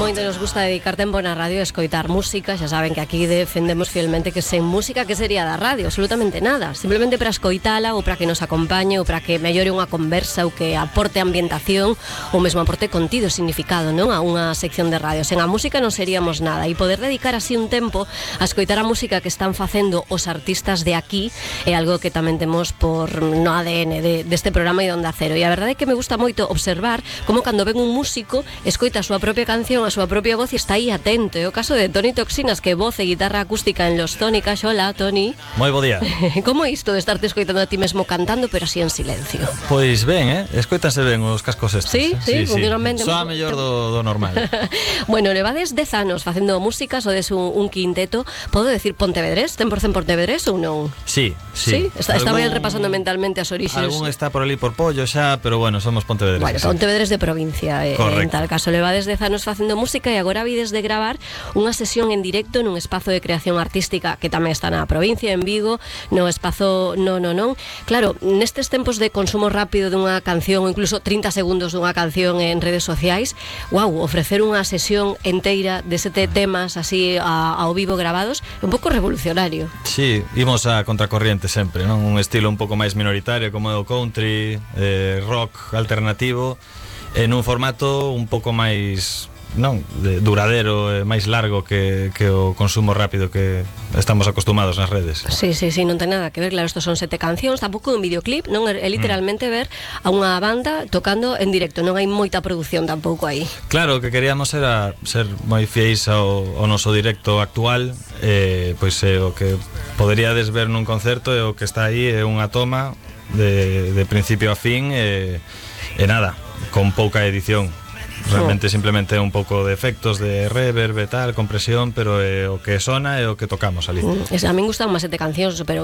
moito nos gusta dedicar tempo na radio a escoitar música. Xa saben que aquí defendemos fielmente que sen música que sería da radio, absolutamente nada. Simplemente para escoitala ou para que nos acompañe ou para que mellore unha conversa ou que aporte ambientación ou mesmo aporte contido, significado, non? A unha sección de radio. Sen a música non seríamos nada, e poder dedicar así un tempo a escoitar a música que están facendo os artistas de aquí é algo que tamén temos por no ADN deste programa e de Onda Cero. E a verdade é que me gusta moito observar como cando ven un músico escoita a súa propia canción, a súa propia voz e está aí atento. É o caso de Toni Toxinas, que voz e guitarra acústica en Los Tónicas. Hola, Toni. Moi bo día. Como é isto de estarte escoitando a ti mesmo cantando, pero así en silencio? Pois ben, escoitanse ben os cascos estes. Sí, funcionalmente. Soa mellor do normal. Bueno, levades 10 anos facendo música, sodes un quinteto. Podo decir pontevedrés? 100% pontevedrés ou non? Sí. Estaba aí repasando mentalmente as orixes. Algún está por ali por Pollo xa, pero bueno, somos pontevedrés. Bueno, sí. Pontevedrés de provincia, en tal caso. Levades 10 anos facendo música e agora vides de gravar unha sesión en directo nun espazo de creación artística que tamén está na provincia, en Vigo, no espazo Non. Claro, nestes tempos de consumo rápido dunha canción ou incluso 30 segundos dunha canción en redes sociais, ofrecer unha sesión enteira de 7 temas así ao vivo grabados é un pouco revolucionario. Sí, imos a contracorriente sempre, non? Un estilo un pouco máis minoritario como é o country, rock alternativo, en un formato un pouco máis duradero, máis largo que o consumo rápido que estamos acostumados nas redes. Sí, non ten nada que ver. Claro, estos son 7 cancións, tampouco un videoclip, non é literalmente ver a unha banda tocando en directo, non hai moita produción tampouco aí. Claro, o que queríamos era ser moi fiéis ao noso directo actual, pois é o que poderíades ver nun concerto, é o que está aí, é unha toma de principio a fin e nada, con pouca edición. Realmente simplemente un pouco de efectos de reverb e tal, compresión, pero o que sona é o que tocamos ali. A min gustan máis 7 cancións, pero